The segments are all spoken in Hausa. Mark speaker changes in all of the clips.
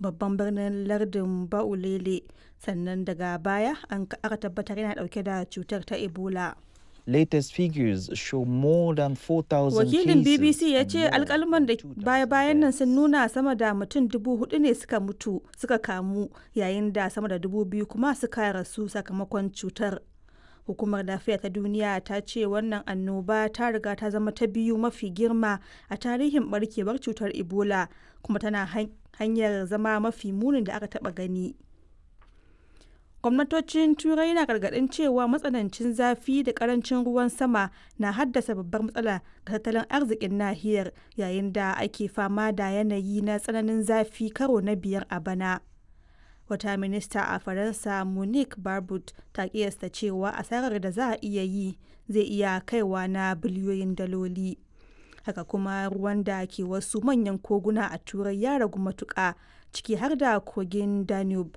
Speaker 1: babban birnin lardin Ba'ulele, sannan daga baya aka tabbatar yana dauke da cutar ta Ebola.
Speaker 2: Latest figures show more than 4,000
Speaker 1: Wakilin
Speaker 2: cases
Speaker 1: BBC ya
Speaker 2: and
Speaker 1: ce
Speaker 2: more
Speaker 1: alkalman da
Speaker 2: than 2,000
Speaker 1: baya-bayan nan sun
Speaker 2: deaths.
Speaker 1: nuna sama da mutum 4,000 ne suka mutu suka kamu yayin da sama da 2,000 kuma suka rasu sakamakon cutar. Hukumar Lafiya ta Duniya ta ce wannan annoba ta riga ta zama ta biyu mafi girma a tarihin barkewar cutar Ebola kuma tana hanyar zama mafi munin da aka taba gani. Gwamnatocin Turai na gargaɗin cewa matsanancin zafi da ƙarancin ruwan sama na haddasa babbar matsala ga tattalin arzikin nahiyar yayin da ake fama da yanayi na tsananin zafi karo na biyar a bana. Wata minista a Faransa Monique Barbut ta kiyasta cewa asarar da za a iya yi zai iya kaiwa na biliyoyin daloli. Haka kuma ruwan da ke wasu manyan koguna a Turai ya ragu matuƙa, ciki har da kogin Danube,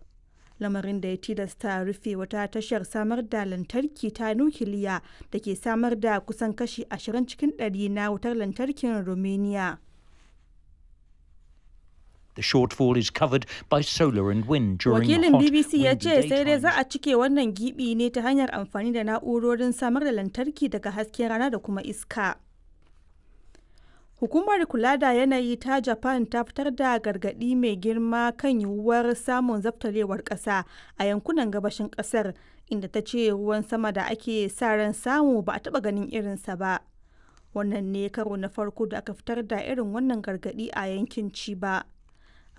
Speaker 1: lamarin da ya tilasta rufe wata tashar samar da lantarki ta nukiliya da ke samar da kusan kashi 20 cikin ɗari na wutar lantarkin Romania.
Speaker 3: The shortfall is covered by solar and wind during
Speaker 1: Wakilin
Speaker 3: hot,
Speaker 1: BBC ya
Speaker 3: windy
Speaker 1: ce sai dai za
Speaker 3: daytimes.
Speaker 1: a cike wannan gibi ne ta hanyar amfani da na'urorin samar da lantarki daga hasken rana da kuma iska. Hukumar kula da yanayi ta Japan ta fitar da gargaɗi mai girma kan yiwuwar samun zabtarewar ƙasa a yankunan gabashin ƙasar, inda ta ce ruwan sama da ake sa ran samu ba a taɓa ganin irinsa ba. Wannan ne karo na farko da aka fitar da irin wannan gargaɗi a yankin Chiba.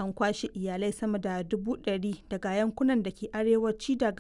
Speaker 1: An kwashe iyalai sama da 100,000 daga yankunan da ke arewaci da